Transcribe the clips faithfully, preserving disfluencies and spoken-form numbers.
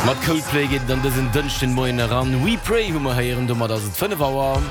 Mat Coldplay geet et an dësen Dënschden Moien eran. We Pray hu mer héieren. Domat ass et fënnef Auer.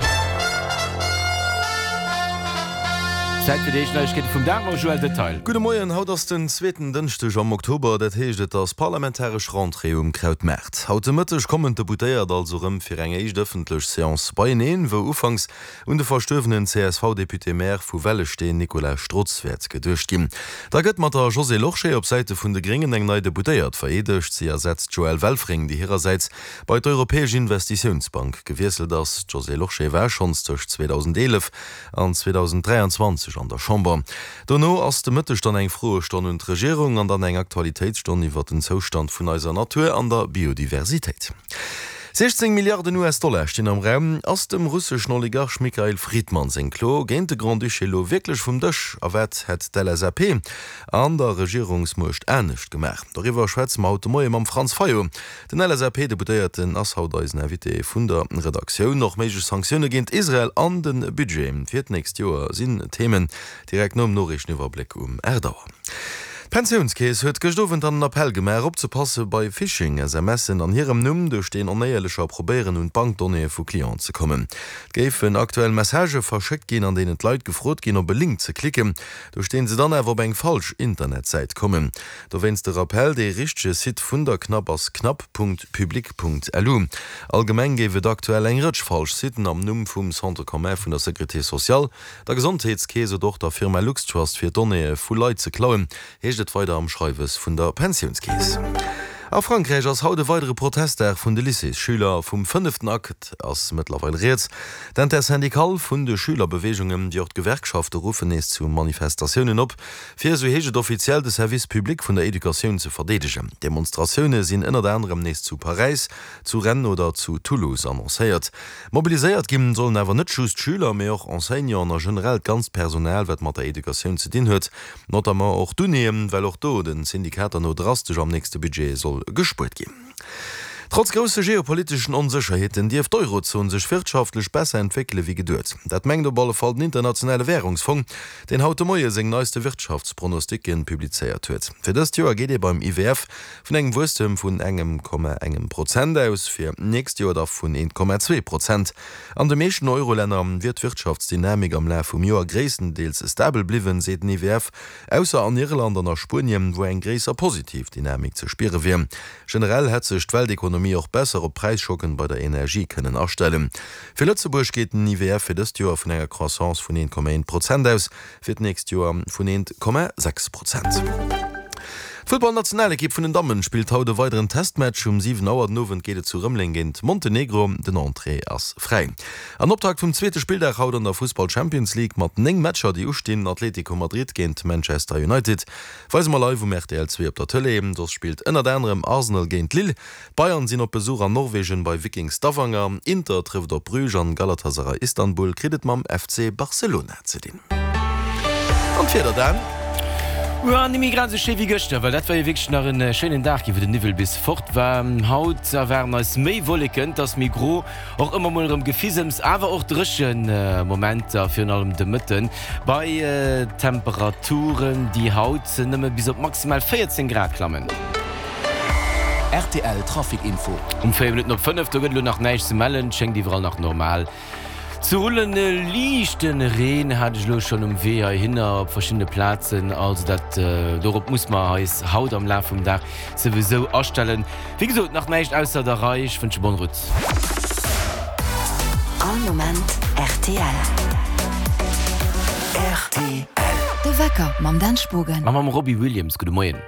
Zäit fir déi éischt Neiegkeete vum Dag mam Joël Detail. Gudde Moien, haut ass den zweeten Dënschdeg am Oktober, dat heescht et ass parlamentaresch Rentrée um Krautmaart. Haut de Mëtteg kommen d'Deputéiert also rëm fir eng éischt ëffentlech Seance beieneen, wou ufanks un de verstuerwenen C S V-Député-Maire vu Wellesteen Nicolas Strotz wäert geduecht ginn. Da gëtt mat der Josée Lorsché op Säite vun de Gréngen eng nei Deputéiert vereedegt. Si ersetzt d'Joëlle Welfring, déi hirersäits bei d'Europäesch Investitiounsbank gewiesselt ass. D'Josée Lorsché war schonns tëscht zweedausendeenef an zweedausendräianzwanzeg an der Chamber. Dono ass de Mëtteg dann eng Froestonn un d'Regierung an dann eng Aktualitéitsstonn iwwer den Zoustand vun eiser Natur an der Biodiversitéit. siechzéng Milliarden U S-Dollar stinn am Raum. Ass dem russeschen Oligarch Mikhail Fridman seng Klo géint de Grand-Duché elo wierklech vum Dësch? A wat hätt d'L S A P an der Regierungsmuecht anescht gemaach? Doriwwer schwätze mer haut de Moie mam Franz Fayot. Den L S A P-Deputéierten ass haut eisen Invité vun der Redaktioun. Och méiglech Sanktioune géint Israel an de Budget fir d'nächst Joer sinn Themen direkt nom Noriichteniwwerbléck um aacht Auer. D'Pensiounskeess huet gëscht Owend dann en Appell gemaach, opzepasse bei Phishing-S M Sen an hirem Numm, duerch deen Onéierlecher probéieren, un d'Bankdonnéeë vu Clienten ze kommen. Et géifen aktuell Messagë verschéckt ginn, an deenen d'Leit gefrot ginn, op e Link ze klicken, duerch deen se dann awer op eng falsch Internetsäit kommen. Dowéinst de Rappell, Dee richtege Site vun der CNAP ass cnap Punkt public Punkt lu. Allgemeng géif et aktuell eng Rëtsch falsch Siten am Numm vum Centre commun vun der Sécurité sociale, der Gesondheetskeess oder och der Firma LuxTrust fir Donnéeë vu Leit ze klauen, heescht et weider am Schreiwes vun der Pensiounskeess. A Frankräich ass haut e weidere Protestdag vun de Lycéesschüler. Vum fënneften Akt ass mëttlerweil rieds. D'Intersyndicale vun de Schülerbeweegungen, wéi och d'Gewerkschafte ruffen nees zu Manifestatiounen op, fir, esou heescht et offiziell, de Service public vun der Educatioun ze verdeedegen. Demonstratioune sinn ënnert anerem nees zu Paräis, zu Rennes oder zu Toulouse annoncéiert. Mobiliséiert ginn sollen awer net just d'Schüler, mee och Enseignanten a generell d'ganzt Personal, wat mat der Educatioun ze dinn huet, notamment och d'Unien, well och do de Syndikater no drastesch am nächste Budget soll gespuert ginn. Trotz grousse geopoliteschen Onsécherheeten dierft d'Eurozon sech wirtschaftlech besser entwéckele wéi geduet. Dat mengt op alle Fall den Internationale Wärungsfong, deen haut de Moie seng neiste Wirtschaftspronosticken publizéiert huet. Fir dëst Joer geet ee beim I W F vun engem Wuesstem vun engem Komma engem Prozent aus, fir d'nächst Joer da vun eent Komma zwee Prozent. An de meeschten Eurolänner wier d'Wirtschaftsdynamik am Laf vum Joer gréisstendeels stabel bliwwen, seet den I W F, ausser an Irland an a Spuenien, wou eng gréisser positiv Dynamik ze spiere wier. Generell hätt sech d'Weltekonomie och besser op Präisschocken bei der Energie kënnen astellen. Fir Lëtzebuerg geet den I W F fir dëst Joer vun enger Croissance vun eent Komma eent Prozent aus, fir d'nächst Joer vun eent Komma sechs Prozent. D'Futtballnationalekipp vun den Dammen spillt haut e weideren Testmatch. Um siwen Auer den Owend geet et zu Rëmeleng géint Montenegro. Den Entrée ass fräi. An Optakt vum zweete Spilldag haut an der Fussball Champions League mat néng Matcher déi ustinn, Atlético Madrid géint Manchester United weise mer live um R T L zwee op der Tëlee. Soss spillt ënnert anerem Arsenal géint Lille. D'Bayern sinn op Besuch an Norwegen bei Viking Stavanger. Inter trëfft op Bruges an Galatasaray Istanbul kritt et mam F C Barcelona ze dinn. An d'Wieder dann? Jo, net méi grad esou schéi wéi gëschter, well dat war jo wierklech nach en schéinen Dag ginn, wou den Niwwel bis fort war. Haut erwaarden eis méi Wolleken, et ass méi gro, och ëmmer mol erëm Gefisems, awer och dréchen Momenter, virun allem de Mëtten, bei Temperaturen, déi haut nëmme bis op maximal véierzéng Grad klammen. R T L Trafic Info. Um véier Minutten op fënnef, do gëtt elo nach näischt ze mellen, et schéngt iwwerall nach normal ze rullen. E liichte Reen hat ech elo schonn um Wee heihinner op verschiddene Plazen, also dat dorop muss mer eis haut am Laf vum Dag souwisou astellen. Wéi gesot, nach näischt ausser der Rei. Ech wënsche bonne route. All Moment R T L. R T L. De Wecker mam Dan Spogen. A mam Robbie Williams. Gudde Moien.